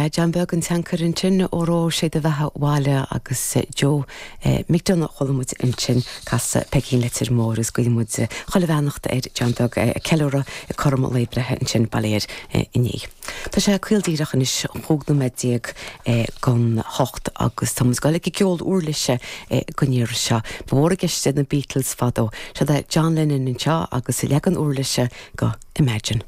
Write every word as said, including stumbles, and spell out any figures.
Sea John Beag an tionchar ansin óró sé do bheatha abhaile agus Joe McDonagh chuala muid ansin casadh Peigín Leitir Móir is guímid chuile bheannacht ar John Beag ceiliúradh cothrom lae breithe ansin baléir inné. Tá sé caol díreach anois chúig nóiméad déag don hocht agus tá ag goil ag ceol uirlise don iarraidh seo. Ba mhór i gceist na Beatles fadó, Seo é John Lennon anseo agus leagan uirlise go Imagine.